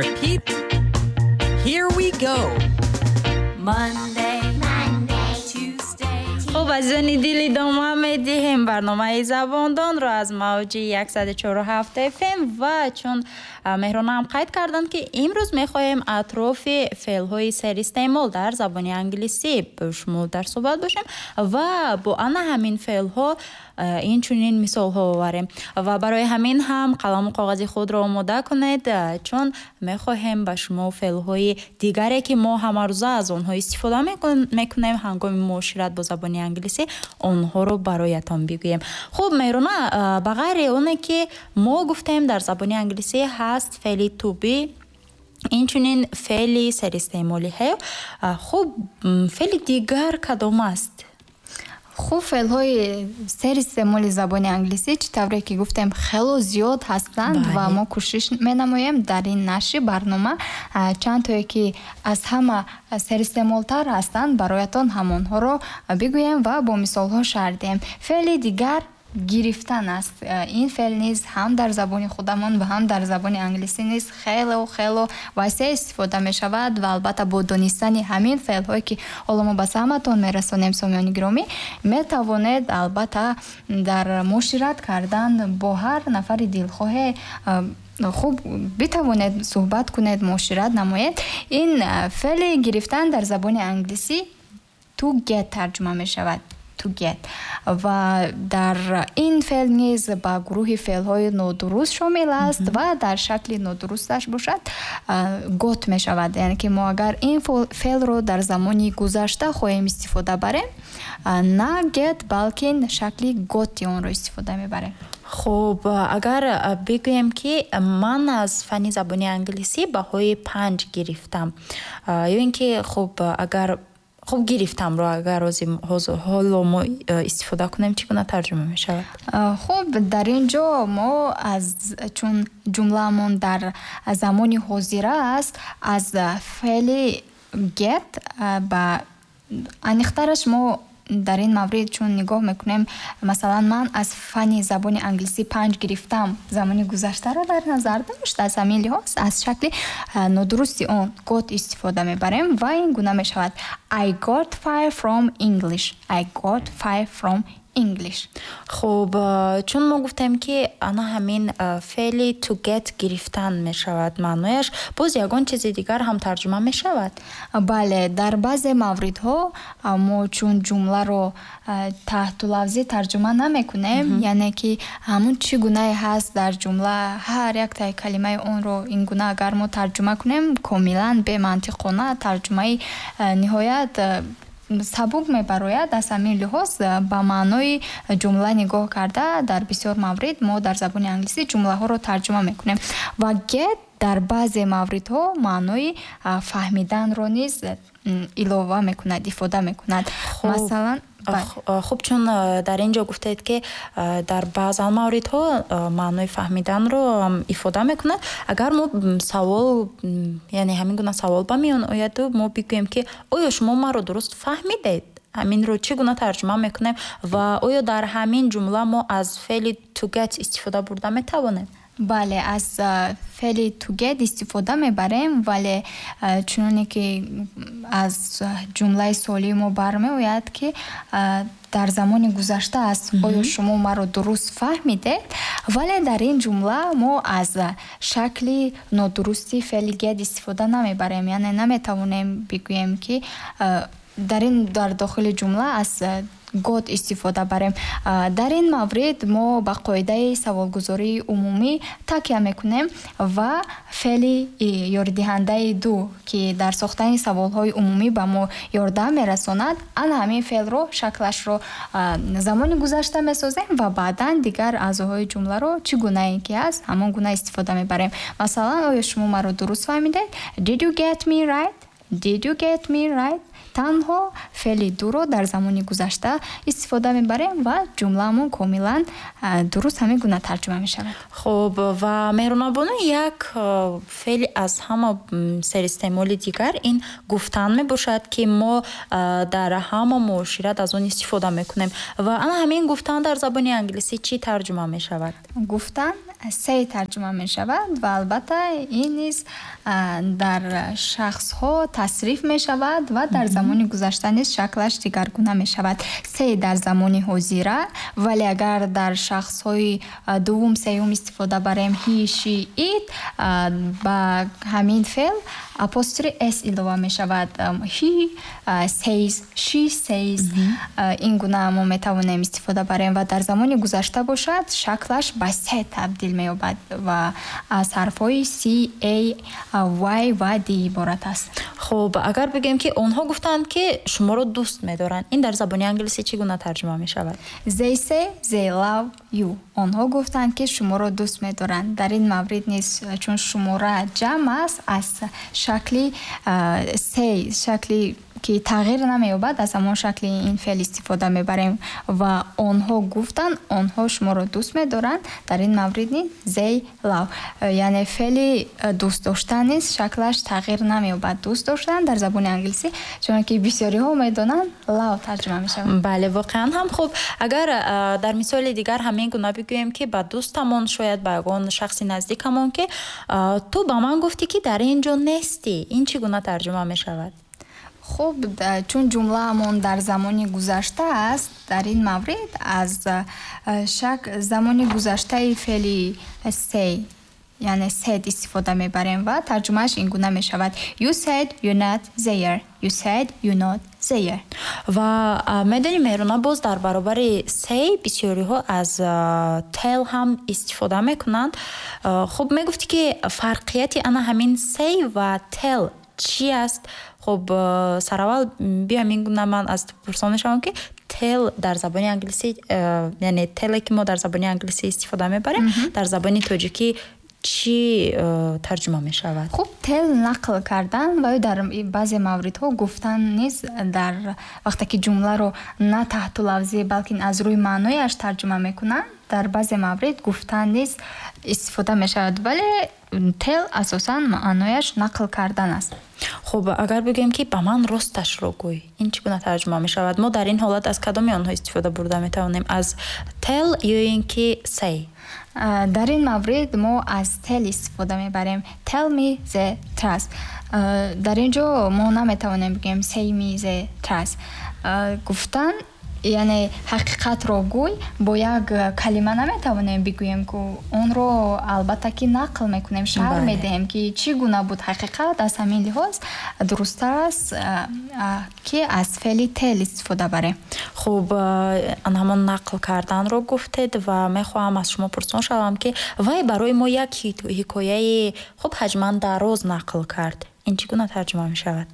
Repeat. Here we go. Monday, Monday, Tuesday. Хуб, азизони дил, идома медиҳем барномаи Забондонро аз мавҷи 104,7 FM. Ва чун Меҳронаам қайд карданд, ки имрӯз мехоҳем атрофи феълҳои серистеъмол дар забони англисӣ бо шумо дар суҳбат бошем ва бо ана ҳамин феълҳо инчунин мисолҳо оварем. Ва барои ҳамин ҳам қаламу коғази худро омода кунед, чун мехоҳем ба шумо феълҳои дигаре, ки мо ҳамарӯза аз онҳо истифода мекунем ҳангоми муошират бо забони англисӣ, онҳоро бароятон бигӯем. Хуб, Меҳрона, ба ғайри оне ки мо гуфтем, дар забони англисӣ ҳаст феъли to be, инчунин феъли серистеъмоли have. Хуб, феъли дигар кадом аст? Хуб, феълҳои серистеъмоли забони англисӣ, чӣ тавре ки гуфтем, хело зиёд ҳастанд ва мо кӯшиш менамоем дар ин нашри барнома чанд тое, ки аз ҳама серистеъмолтар ҳастанд, бароятон ҳамонҳоро бигӯем ва бо мисолҳо шарҳ диҳем. Феъли дигар гирифтан аст. Ин феъл низ ҳам дар забони худамон ва ҳам дар забони англисӣ низ хело хело васеъ истифода мешавад. Ва албатта, бо донистани ҳамин феълҳое, ки ҳоло мо ба самъатон мерасонем, сомиёни гиромӣ, метавонед албатта дар муошират кардан бо ҳар нафари дилхоҳе хуб битавонед суҳбат кунед, муошират намоед. Ин феъли гирифтан дар забони англисӣ to get тарҷума мешавад, to get. Ва дар ин феъл низ ба гурӯҳи феълҳои нодуруст шомил аст ва дар шакли нодурусташ бошад, got мешавад. Яъне ки мо агар ин феълро дар замони гузашта хоҳем истифода барем, на get, балки шакли got и онро истифода мебарем. Хуб, агар бигӯем, ки ман аз фанни забони англисӣ баҳои 5 гирифтам, ё ин ки хуб, агар хуб гирифтамро агар ҳоло мо истифода кунем, чӣ гуна тарҷума мешавад? Хуб, дар ин ҷо мо аз чун ҷумлаамон дар замони ҳозира аст, аз феъли get, ба аниқтараш мо дар ин маврид чун нигоҳ мекунем, масалан, ман аз фанни забони англисӣ 5 гирифтам замони гузаштаро дар назар дошт. Аз ҳамин лиҳоз аз шакли нодурусти он got истифода мебарем ва ин гуна мешавад: I got 5 from English. I got 5 from English. Хуб, чун мо гуфтем, ки ана ҳамин феъли to get гирифтан мешавад маънояш, боз ягон чизи дигар ҳам тарҷума мешавад? Бале, дар баъзе мавридҳо мо чун ҷумларо таҳтулафзӣ тарҷума намекунем, яъне ки ҳамун чӣ гунае ҳаст дар ҷумла, ҳар яктаи калимаи онро ин гуна агар мо тарҷума кунем, комилан бемантиқона тарҷумаи ниҳоят сабук мебарояд. Аз ҳамин лиҳоз ба маънои ҷумла нигоҳ карда, дар бисёр маврид мо дар забони англисӣ ҷумлаҳоро тарҷума мекунем ва get дар баъзе мавридҳо маънои фаҳмиданро низ илова мекунад, ифода мекунад. Масалан. Хуб, чун дар ин ҷо гуфтед, ки дар баъзан мавридҳо маънои фаҳмиданро ифода мекунад, агар мо савол, яъне ҳамин гуна савол ба миён ояду мо бигӯем, ки оё шумо маро дуруст фаҳмидед, ҳаминро чӣ гуна тарҷума мекунем ва оё дар ҳамин ҷумла мо аз феъли to get истифода бурда метавонем? Бале, аз феъли to get истифода мебарем, вале чуноне ки аз ҷумлаи суолии мо бармеояд, ки дар замони гузашта аст, оё шумо маро дуруст фаҳмидед, вале дар ин ҷумла мо аз шакли нодурусти феъли get истифода намебарем. Яъне наметавонем бигӯем, ки дар ин дар дохили ҷумла аз got истифода барем. Дар ин маврид мо ба қоидаи саволгузории умумӣ такя мекунем ва феъли ёридиҳандаи do, ки дар сохтани саволҳои умумӣ ба мо ёрдам мерасонад, ана ҳамин феълро шаклашро замони гузашта месозем ва баъдан дигар аъзоҳои ҷумларо чӣ гунае ки ҳаст, ҳамон гуна истифода мебарем. Масалан, оё шумо маро дуруст фаҳмидед? Did you get me right? Did you get me right? Танҳо феъли do ро дар замони гузашта истифода мебарем ва ҷумлаамон комилан дуруст ҳамин гуна тарҷума мешавад. Хуб, ва Меҳрунабону, як феъли аз ҳама серистеъмоли дигар ин гуфтан мебошад, ки мо дар ҳама муошират аз он истифода мекунем. Ва ана ҳамин гуфтан дар забони англисӣ чӣ тарҷума мешавад? Гуфтан Say тарҷума мешавад ва албатта ин низ дар шахсҳо тасриф мешавад ва дар замони гузашта низ шаклаш дигаргуна мешавад. Say дар замони ҳозира, вале агар дар шахсҳои дуввум, сеюм истифода барем, he, she, it, ба ҳамин феъл апострофи s илова мешавад. He says, she says, ин гуна мо метавонем истифода барем ва дар замони гузашта бошад, шаклаш ба said табдил меёбад ва аз ҳарфҳои c, a, y ва d иборат аст. Хуб, агар бигӯем, ки онҳо гуфтанд, ки шуморо дӯст медоранд, ин дар забони англисӣ чӣ гуна тарҷума мешавад? They say they love you. Онҳо гуфтанд, ки шуморо дӯст медоранд. Дар ин маврид низ, чун шумора ҷамъ аст, аз шакли say, шакли ки тағйир намеёбад, аз ҳамон шакли ин феъл истифода мебарем ва онҳо гуфтанд, онҳо шуморо дӯст медоранд. Дар ин маврид низ they love, яъне феъли дӯст доштан низ шаклаш тағйир намеёбад. Дӯст доштан дар забони англисӣ, чунки бисёриҳо медонанд, love тарҷума мешавад. Бале, воқеан ҳам. Хуб, агар дар мисоли дигар ҳамин гуна бигӯем, ки ба дӯстамон, шояд ба ягон шахси наздикамон, ки ту ба ман гуфтӣ, ки дар ин ҷо нестӣ, ин чӣ гуна тарҷума мешавад? Хуб, чун ҷумлаамон дар замони гузашта аст, дар ин маврид аз шак замони гузаштаи феъли say, яъне said истифода мебарем ва тарҷумааш ин гуна мешавад: You said you not there. You said you not there. Ва медонӣ, Меҳруна, боз дар баробари say бисёриҳо аз tell ҳам истифода мекунанд. Хуб, мегуфтӣ, ки фарқияти ана ҳамин say ва tell чӣ аст? Хуб, сараввал биё, ҳамин гуна ман аз ту пурсон мешавам, ки tell дар забони англисӣ, яъне tell е ки мо дар забони англисӣ истифода мебарем, дар забони тоҷикӣ чӣ тарҷума мешавад? Хуб, tell нақл кардан ва ё дар баъзе мавридҳо гуфтан низ, дар вақте ки ҷумларо на таҳту лафзӣ, балки аз рӯи маънояш тарҷума мекунанд, дар баъзе маврид гуфтан низ истифода мешавад, вале tell асосан маънояш нақл кардан аст. Хуб, агар бигӯем, ки ба ман росташро гӯй, ин чӣ гуна тарҷума мешавад? Мо дар ин ҳолат аз кадоми онҳо истифода бурда метавонем, аз tell ё ин ки say? Дар ин маврид мо аз tell истифода мебарем. Tell me the truth. Дар ин ҷо мо наметавонем бигӯем say me the truth. Гуфтан, яъне ҳақиқатро гӯй, бо як калима наметавонем бигӯем, ку онро албатта ки нақл мекунем, шарҳ медиҳем, ки чӣ гуна буд ҳақиқат. Аз ҳамин лиҳоз дурусттар аст, ки аз феъли tell истифода барем. Хуб, ҳамон нақл карданро гуфтед ва мехоҳам аз шумо пурсон шавам, ки вай барои мо як ҳикояи хуб ҳаҷман дароз нақл кард, ин чӣ гуна тарҷума мешавад?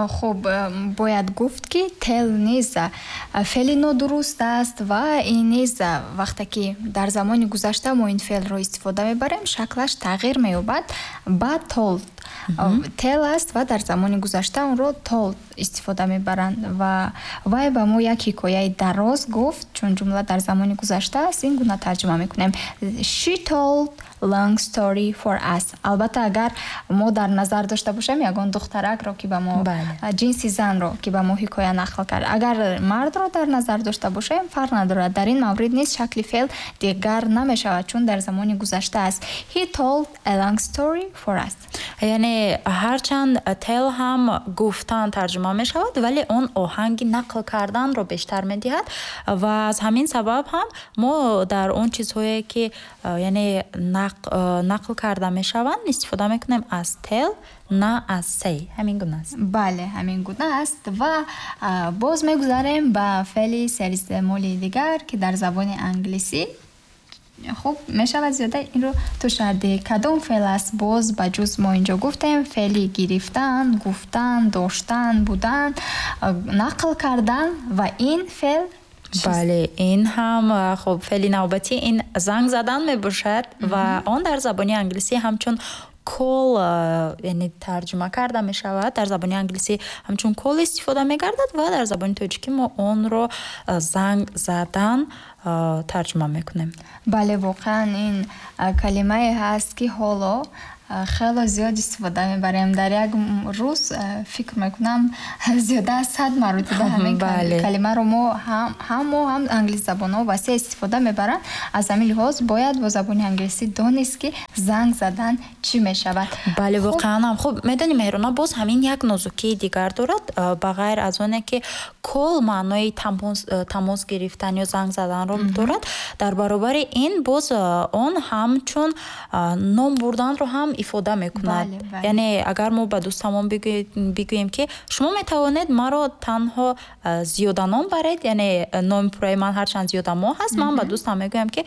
Хуб, бояд гуфт, ки tell низ феъли нодуруст аст ва ин низ вақте ки дар замони гузашта мо ин феълро истифода мебарем, шаклаш тағйир меёбад ба told. Tell аст ва дар замони гузашта онро told истифода мебаранд ва вай ба мо як ҳикояи дароз гуфт. Чун ҷумла дар замони гузашта аст, ин гуна тарҷума мекунем: She told long story for us. Албатта, агар мо дар назар дошта бошем ягон духтаракро, ки ба мо, ҷинси занро, ки ба мо ҳикоя нақл кард. Агар мардро дар назар дошта бошем, фарқ надорад. Дар ин маврид низ шакли феъл дигар намешавад, чун дар замони гузашта аст. He told a long story for us. Яъне ҳарчанд tell ҳам гуфтан тарҷума мешавад, вале он оҳанги нақл карданро бештар медиҳад ва аз ҳамин сабаб ҳам мо дар он чизҳое, ки яъне нақл карда мешаванд, истифода мекунем аз tell, на аз say. Ҳамин гуна аст? Бале, ҳамин гуна аст. Ва боз мегузарем ба феъли серистеъмоли дигар, ки дар забони англисӣ хуб мешавад зиёда инро ту шарҳ. Кадом феъл аст? Боз ба ҷуз мо инҷо гуфтем феъли гирифтан, гуфтан, доштан, будан, нақл кардан ва ин феъл? Бале, ин ҳам, хуб, феъли навбатӣ ин занг задан мебошад ва он дар забони англисӣ ҳамчун call, яъне тарҷума карда мешавад. Дар забони англисӣ ҳамчун call истифода мегардад ва дар забони тоҷикӣ мо онро занг задан тарҷума мекунем. Бале, воқеан ин калимае ҳаст, ки ҳоло Хело зиёд истифода мебарем дар як рӯз, фикр мекунам, зиёда аз 100 маротиба ҳамин калимаро мо ҳам, мо ҳам англисзабонҳо васеъ истифода мебаранд. Аз ҳамин лиҳоз бояд бо забони англисӣ донист, ки занг задан чӣ мешавад. Бале, воқеан ҳам. Хуб, медонӣ, Меҳрона, боз ҳамин як нозукии дигар дорад. Ба ғайр аз оне ки call маънои тамос гирифтан ё занг заданро дорад, дар баробари ин боз он ҳамчун ном бурданро ҳам ифода мекунад. Яъне агар мо ба дӯстамон бигӯем, ки шумо метавонед маро танҳо Зиёда ном баред, яъне номи пурраи ман ҳарчанд Зиёдамо ҳаст, ман ба дӯстам мегӯям, ки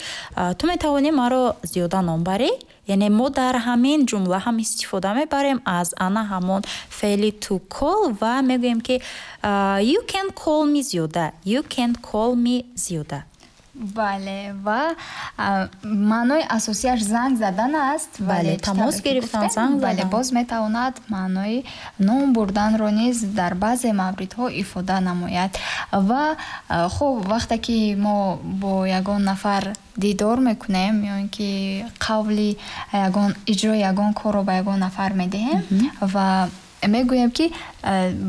ту метавонӣ маро Зиёда ном барӣ. Яъне мо дар ҳамин ҷумла ҳам истифода мебарем аз ана ҳамон феъли to call ва мегӯем, ки you can call me Зиёда, you can call me Зиёда. Бале, ва маънои асосиаш занг задан аст. Бале, тамос гирифтан, занг. Бале, боз метавонад маънои ном бурданро низ дар баъзе мавридҳо ифода намояд. Ва хуб, вақте ки мо бо ягон нафар дидор мекунем ё ин ки қавли ягон иҷрои ягон корро ба ягон нафар медиҳем ва мегӯем, ки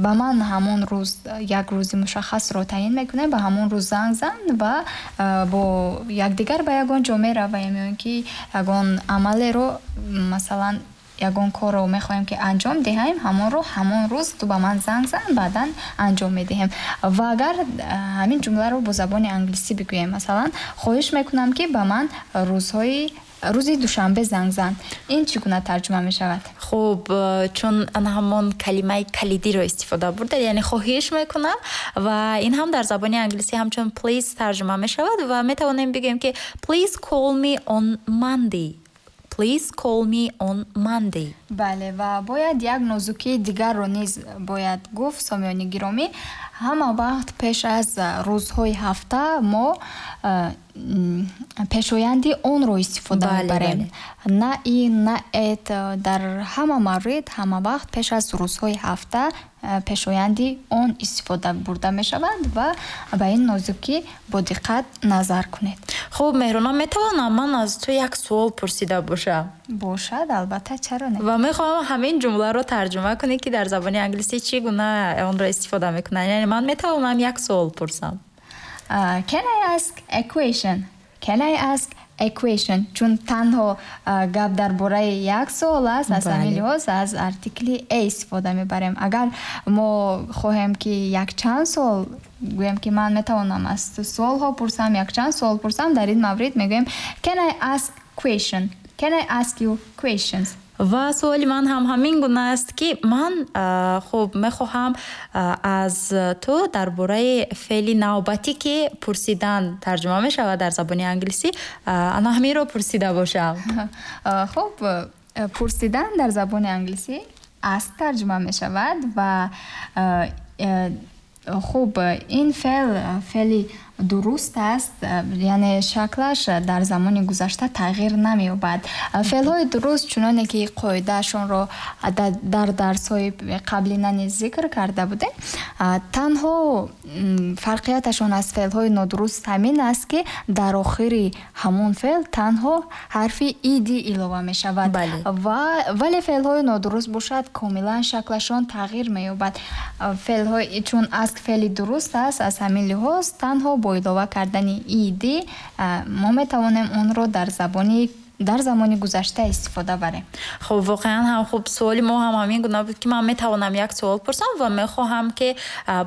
ба ман ҳамон рӯз, як рӯзи мушаххасро таъйин мекунем, ба ҳамон рӯз занг зан ва бо якдигар ба ягон ҷо меравем ё ин ки ягон амалеро, масалан, ягон корро мехоҳем, ки анҷом диҳем, ҳамонро ҳамон рӯз ту ба ман занг зан, баъдан анҷом медиҳем. Ва агар ҳамин ҷумларо бо забони англисӣ бигӯем, масалан, хоҳиш мекунам, ки ба ман рӯзи душанбе занг зан, ин чӣ гуна тарҷума мешавад? Хуб, чун ана ҳамон калимаи калидиро истифода бурдед, яъне хоҳиш мекунам, ва ин ҳам дар забони англисӣ ҳамчун please тарҷума мешавад ва метавонем бигӯем, ки please call me on Monday, please call me on Monday. Бале, ва бояд як нозукии дигарро низ бояд гуфт, сомиёни гиромӣ. Ҳама вақт пеш аз рӯзҳои ҳафта мо пешоянди on ро истифода мебарем, на in, на at. Дар ҳама маврид, ҳама вақт пеш аз рӯзҳои ҳафта пешоянди on истифода бурда мешавад ва ба ин нозукӣ бо диққат назар кунед. Хуб, Меҳрона, метавонам ман аз ту як суол пурсида бошам? Бошад, албатта, чаро не? Ва мехоҳам ҳамин ҷумларо тарҷума кунӣ, ки дар забони англисӣ чӣ гуна онро истифода мекунанд. Яъне ман метавонам як суол пурсам? Can I ask a question? Can I ask a question? Чун танҳо гап дар бораи як суол аст, аз ҳамин лиҳоз аз артикли a истифода мебарем. Агар мо хоҳем, ки якчанд суол гӯем, ки ман метавонам аз ту суолҳо пурсам, якчанд суол пурсам, дар ин маврид мегӯем: can I ask question, can I ask you questions? Ва суоли ман ҳам ҳамин гуна аст, ки ман, хуб, мехоҳам аз ту дар бораи феъли навбатӣ, ки пурсидан тарҷума мешавад дар забони англисӣ, ана ҳаминро пурсида бошам. Хуб, пурсидан дар забони англисӣ ask тарҷума мешавад ва хуб, ин феъл феъли дуруст аст, яъне шаклаш дар замони гузашта тағйир намеёбад. Феълҳои дуруст, чуноне ки қоидаашонро дар дарсҳои қаблина низ зикр карда будем, танҳо фарқияташон аз феълҳои нодуруст ҳамин аст, ки дар охири ҳамон феъл танҳо ҳарфи ed илова мешавад. Вале феълҳои нодуруст бошад, комилан шаклашон тағйир меёбад. Феълҳои, чун ask феъли дуруст аст, аз ҳамин лиҳоз танҳо бо илова кардани ed мо метавонем онро дар замони гузашта истифода барем. Хуб, воқеан ҳам хуб. Суоли мо ҳам ҳамин гуна буд, ки ман метавонам як суол пурсам ва мехоҳам, ки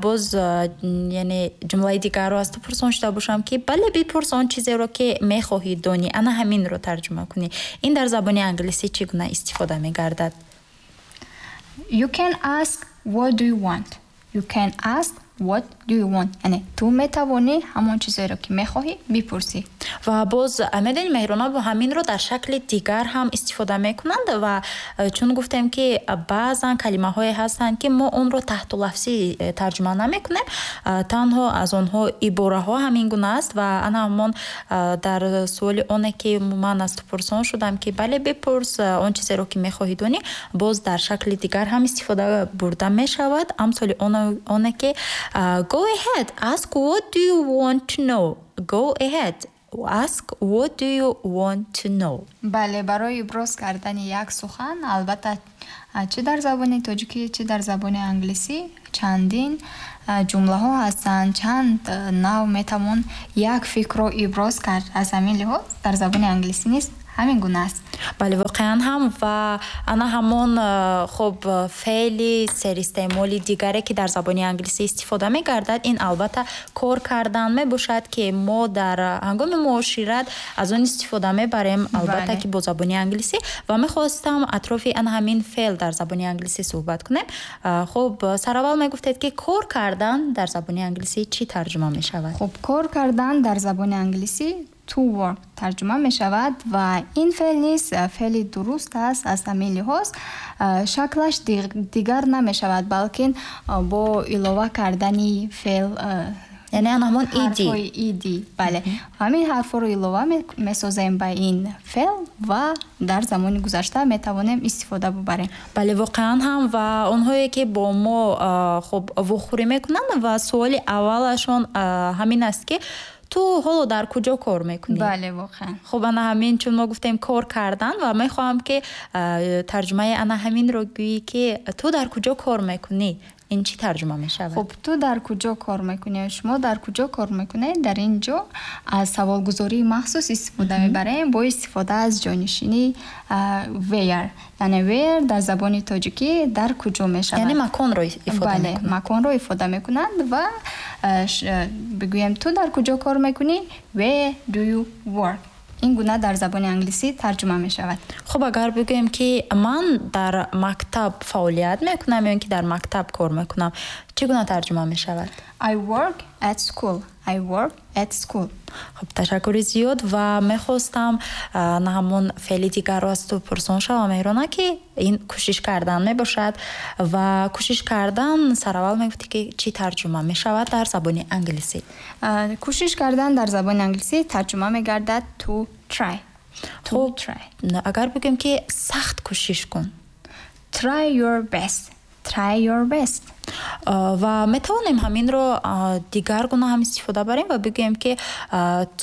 боз, яъне, ҷумлаи дигарро аз ту пурсон шуда бошам, ки бале, бипурс он чизеро, ки мехоҳӣ донӣ, ана ҳаминро тарҷума кунӣ. Ин дар забони англисӣ чӣ гуна истифода мегардад? You can ask what do you want. You can ask what do you want. Яъне ту метавонӣ ҳамон чизеро, ки мехоҳӣ, бипурсӣ. Ва боз, медонӣ, Меҳрона, бо ҳаминро дар шакли дигар ҳам истифода мекунанд. Ва чун гуфтем, ки баъзан калимаҳое ҳастанд, ки мо онро таҳтулафзӣ тарҷума намекунем, танҳо аз онҳо ибораҳо ҳамин гуна аст. Ва ана ҳамон дар суоли оне, ки ман аз ту пурсон шудам, ки бале, бипурс он чизеро, ки мехоҳӣ донӣ, боз дар шакли дигар ҳам истифода бурда мешавад. Амсоли оне, ки go ahead, ask what do you want to know. Go ahead. Ask what do you want to know? Бале, барои иброз кардани як сухан, албатта, чӣ дар забони тоҷикӣ, чӣ дар забони англисӣ чандин ҷумлаҳо ҳастанд, чанд нав метавон як фикрро иброз кард. Аз ҳамин лиҳоз дар забони англисӣ низ ҳамин гуна аст. Бале, воқеан ҳам, ва ана ҳамон хуб, феъли серистеъмоли дигаре, ки дар забони англисӣ истифода мегардад, ин албатта кор кардан мебошад, ки мо дар ҳангоми муошират аз он истифода мебарем, албатта ки бо забони англисӣ. Ва мехостам атрофи ана ҳамин феъл дар забони англисӣ суҳбат кунем. Хуб, сараввал мегуфтед, ки кор кардан дар забони англисӣ чӣ тарҷума мешавад? Хуб, кор кардан дар забони англисӣ to work тарҷума мешавад ва ин феъл низ феъли дуруст аст. Аз ҳамин лиҳоз шаклаш дигар намешавад, балки бо илова кардани феъл Яъне ана ҳамон ed. Ҳарфҳои ed, бале, ҳамин ҳарфҳоро илова месозем ба ин феъл ва дар замони гузашта метавонем истифода бубарем. Бале, воқеан ҳам, ва онҳое ки бо мо хуб вохӯрӣ мекунанд ва суоли аввалашон ҳамин аст, ки ту ҳоло дар куҷо кор мекунӣ? Бале, воқеан. Хуб, ана ҳамин, чун мо гуфтем кор кардан, ва мехоҳам, ки тарҷумаи ана ҳаминро гӯӣ, ки ту дар куҷо кор мекунӣ, ин чӣ тарҷума мешавад? Хуб, ту дар куҷо кор мекунӣ, шумо дар куҷо кор мекунед, дар ин ҷо аз саволгузории махсус истифода мебарем бо истифода аз ҷонишини where, яъне where дар забони тоҷикӣ дар куҷо мешавад. Яъне маконро ифода Бале, маконро ифода мекунанд ва бигӯем, ту дар куҷо кор мекунӣ, where do you work, ин гуна дар забони англисӣ тарҷума мешавад. Хуб, агар бигӯем, ки ман дар мактаб фаъолият мекунам ё ин ки дар мактаб кор мекунам, чӣ гуна тарҷума мешавад? I work at school. I work at school. Хуб, ташаккури зиёд, ва мехостам на ҳамон феъли дигарро аз ту пурсон шавам, Меҳрона, ки ин кӯшиш кардан мебошад. Ва кӯшиш кардан сараввал мегуфтӣ, ки чӣ тарҷума мешавад дар забони англисӣ? Кӯшиш кардан дар забони англисӣ тарҷума мегардад to try. To Хуб, try. Агар бигӯем, ки сахт кӯшиш кун? Try your best. Try your best. Ва метавонем ҳаминро дигар гуна ҳам истифода барем ва бигӯем, ки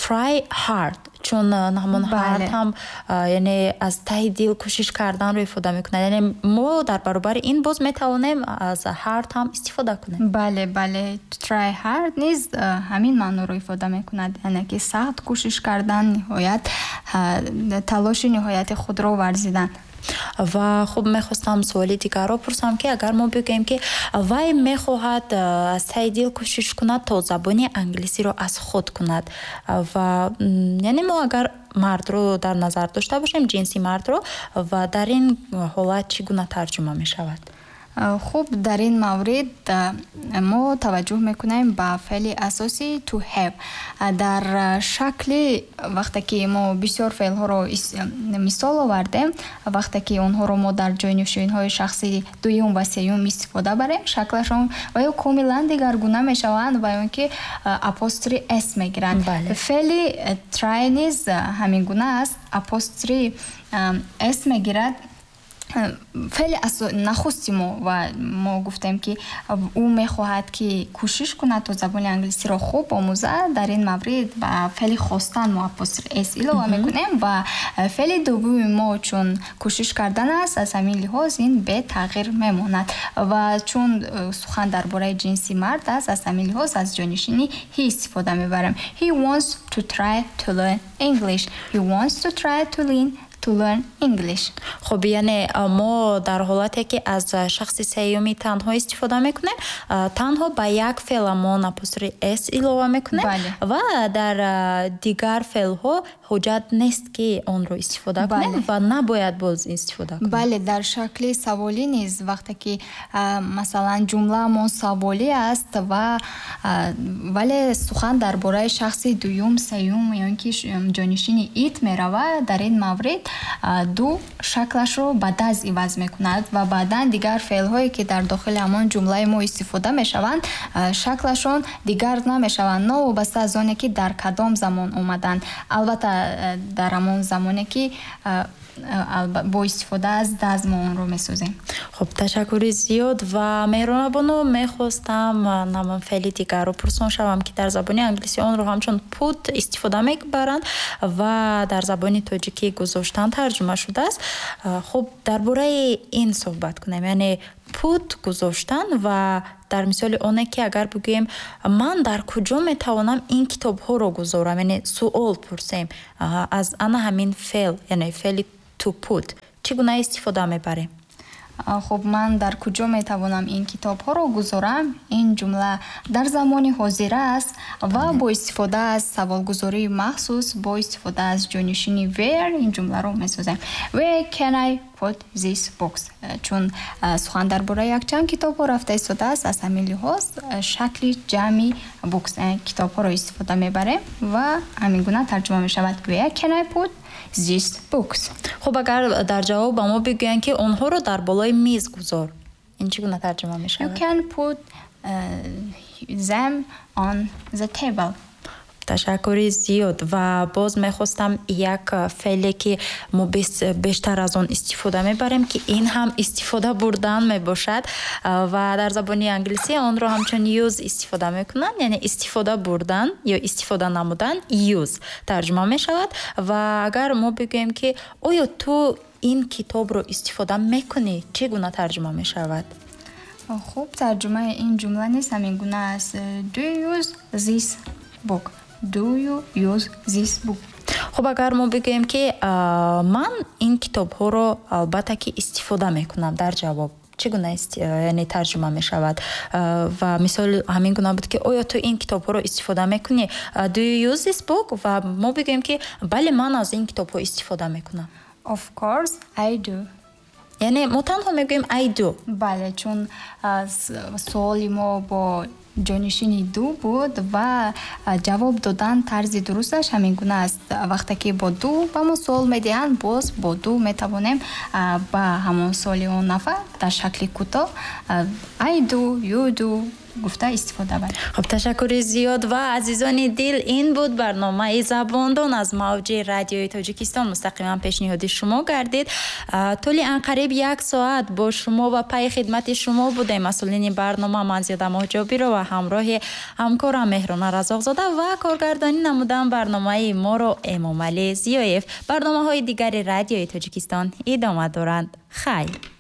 try hard, чун ҳамон hard ҳам яъне аз таҳи дил кӯшиш карданро ифода мекунад. Яъне мо дар баробари ин боз метавонем аз hard ҳам истифода кунем. Бале, try hard низ ҳамин маъноро ифода мекунад, яъне ки сахт кӯшиш кардан, ниҳоят талоши ниҳояти худро варзидан. Ва хуб, мехостам суоли дигарро пурсам, ки агар мо бигӯем, ки вай мехоҳад аз таҳи дил кӯшиш кунад, то забони англисиро аз худ кунад, ва яъне мо агар мардро дар назар дошта бошем, ҷинси мардро, ва дар ин ҳолат чӣ гуна тарҷума мешавад? Хуб, дар ин маврид мо таваҷҷӯҳ мекунем ба феъли асосӣ to have. Дар шакли вақте ки мо бисёр феълҳоро мисол овардем, вақте ки онҳоро мо дар ҷойнишинҳои шахси дуюм ва сеюм истифода барем, шаклашон ва ё комилан дигаргуна мешаванд ва ё ин ки апострофи s мегиранд. Феъли try низ ҳамин гуна аст, апострофи s мегирад. Феъли нахусти мо, ва мо гуфтем, ки ӯ мехоҳад, ки кӯшиш кунад, то забони англисиро хуб омӯзад, дар ин маврид ба феъли хостан мо апострофи s илова мекунем ва феъли дуввуми мо чун кӯшиш кардан аст, аз ҳамин лиҳоз ин бетағйир мемонад ва чун сухан дар бораи ҷинси мард аст, аз ҳамин лиҳоз аз ҷонишини he истифода мебарем. He wants to try to learn English. He wants to try to learn English. Хуб, яъне мо дар ҳолате ки аз шахси сеюми танҳо истифода мекунем, танҳо ба як феъламон апострофи s илова мекунем ва дар дигар феълҳо ҳуҷҷат нест, ки онро истифода кунем ва набояд боз истифода кунем. Бале, дар шакли саволӣ низ, вақте ки масалан ҷумлаамон саволӣ аст ва вале сухан дар бораи шахси дуюм, сеюм ё ин ки ҷонишини it меравад, дар ин маврид do шаклашро ба does иваз мекунад ва баъдан дигар феълҳое, ки дар дохили ҳамон ҷумлаи мо истифода мешаванд, шаклашон дигар намешаванд, новобаста аз оне ки дар кадом замон омаданд, албатта дар ҳамон замоне ки Бо истифода аз does мо онро месозем. Хуб, ташаккури зиёд. Ва Меҳрона бону, мехостам намон феъли дигарро пурсон шавам, ки дар забони англисӣ онро ҳамчун put истифода мебаранд ва дар забони тоҷикӣ гузоштан тарҷума шудааст. Хуб, дар бораи ин суҳбат кунем, яъне put гузоштан, ва дар мисоли оне ки агар бигӯем, ман дар куҷо метавонам ин китобҳоро гузорам, яъне суол пурсем аз ана ҳамин феъл, яъне феъли to put чӣ гуна истифода мебарем? Хуб, ман дар куҷо метавонам ин китобҳоро гузорам, ин ҷумла дар замони ҳозира аст ва бо истифода аз саволгузории махсус, бо истифода аз ҷонишини where ин ҷумларо месозем: Where can I put these books? Чун сухан дар бораи якчанд китобҳо рафта истодааст, аз ҳамин лиҳоз шакли ҷамъи books, китобҳоро истифода мебарем ва ҳамин гуна тарҷума мешавад: Where can I put these books? Хуб, агар дар ҷавоб ба мо бигӯянд, ки онҳоро дар болои миз гузор, ин чӣ гуна тарҷума мешавад? You can put them on the table. Ташаккури зиёд. Ва боз мехостам як феъле, ки мо бештар аз он истифода мебарем, ки ин ҳам истифода бурдан мебошад ва дар забони англисӣ онро ҳамчун use истифода мекунанд, яъне истифода бурдан ё истифода намудан use тарҷума мешавад. Ва агар мо бигӯем, ки оё ту ин китобро истифода мекунӣ, чӣ гуна тарҷума мешавад? Хуб, тарҷумаи ин ҷумла низ ҳамин гуна аст: Do you use this book? Do you use this book? Хуб, агар мо бигӯем, ки ман ин китобҳоро албатта ки истифода мекунам, дар ҷавоб чӣ гуна, яъне, тарҷума мешавад? Ва мисол ҳамин гуна буд, ки оё ту ин китобҳоро истифода мекунӣ, do you use this book, ва мо бигӯем, ки бале, ман аз ин китобҳо истифода мекунам. Of course I do. Яъне мо танҳо мегӯем I do. Бале, чун суоли мо бо ҷонишини do буд ва ҷавоб додан тарзи дурусташ ҳамин гуна аст. Вақте ки бо do ба мо суол медиҳанд, боз бо do метавонем ба ҳамон суоли он нафар дар шакли кӯтоҳ I do, you do гуфта истифода барем. Хуб, ташаккури зиёд. Ва азизони дил, ин буд барномаи Забондон аз мавҷи Радиои Тоҷикистон, мустақиман пешниҳоди шумо гардид. Тӯли анқариб як соат бо шумо ва пайи хидмати шумо будем масъулини барнома, ман, Зиёда Моҳҷобирова, ҳамроҳи ҳамкорам Меҳрона Разоқзода, ва коргардонӣ намудан барномаи моро Эмомалӣ Зиёев. Барномаҳои дигари Радиои Тоҷикистон идома доранд. Хайр.